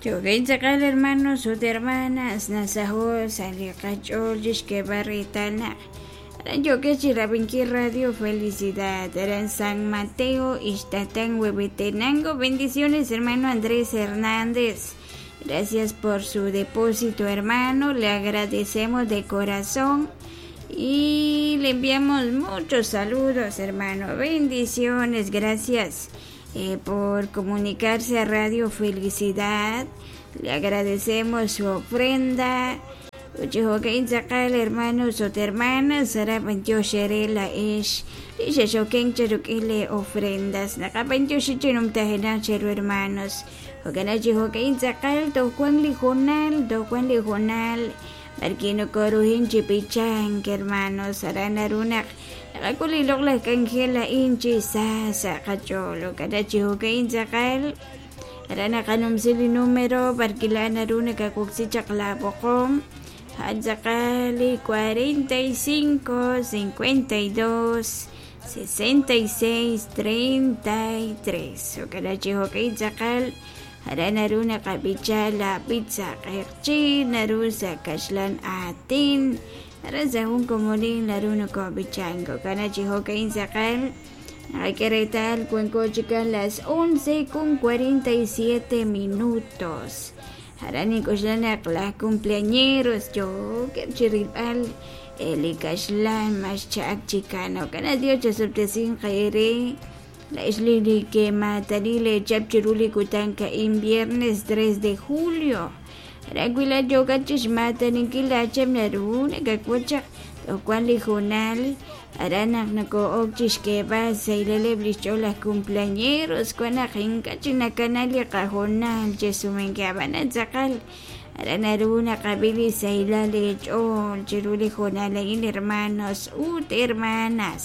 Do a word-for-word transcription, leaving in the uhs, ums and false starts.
Jo'kan tz'aqal hermanos ut hermanas nasaho' sa' li qach'ool chixk'eeb'al reetal naq aran yo'kex chi rab'inkil Radio Felicidad aran San Mateo, Ixtatán, Huehuetenango. Bendiciones, hermano Andrés Hernández. Gracias por su depósito, hermano. Le agradecemos de corazón y le enviamos muchos saludos, hermano. Bendiciones, gracias eh, por comunicarse a Radio Felicidad. Le agradecemos su ofrenda. Uchijokain tz'aqal hermanos ut hermanas aran b'antiox ere la'ex li xexoken cha ruk'in le ofrendas naqab'antioxi chi numtajenaq cheru hermanos jo'kan chi jo'kain tz'aqal toj wan li jonal toj wan li jonal b'arki nokorujin chi pichank hermanos aran naru naq naqak'ul li loq'laj k'anjel a'in chi sa sa' qach'ool jo'kan chi jo'kain tz'aqal aran naqanumsi li número b'arki la naru nakawoksi chaq la b'oqom tz'aqal cuarenta y cinco, cincuenta y dos, sesenta y seis, treinta y tres. Jo'kan chi jo'kain tz'aqal aran naru naqab'icha la pizza q'eqchi naru sa' kaxlan aatin aran sa' jun komonil naru nokob'ichan jo'kan chi jo'kain tz'aqal naqak'e reetal wanko chikan las once con cuarenta y siete minutos. Aran ink'oxla naq laj cumpleañeros yo'keb' chi rilb'al li kaxlan mas cha'ak chikan jo'kan Dios chasub'tesin qeere la'ex li li kematani lechap chiru li kutan ka'in viernes tres de julio aran wila yo'kat chixmataninkil lachep naru nakak'wachaq toj wan li jonal aran naq nako'ok chixk'eeb'al saylaleb' li xch'ool laj cumpleañeros wan naq ink'a' chik nakanal li qajonal chesumenke ab'anan tz'aqal aran naru naqab'i li saylal li ch'ool chiru li jonal a'in hermanos ut hermanas.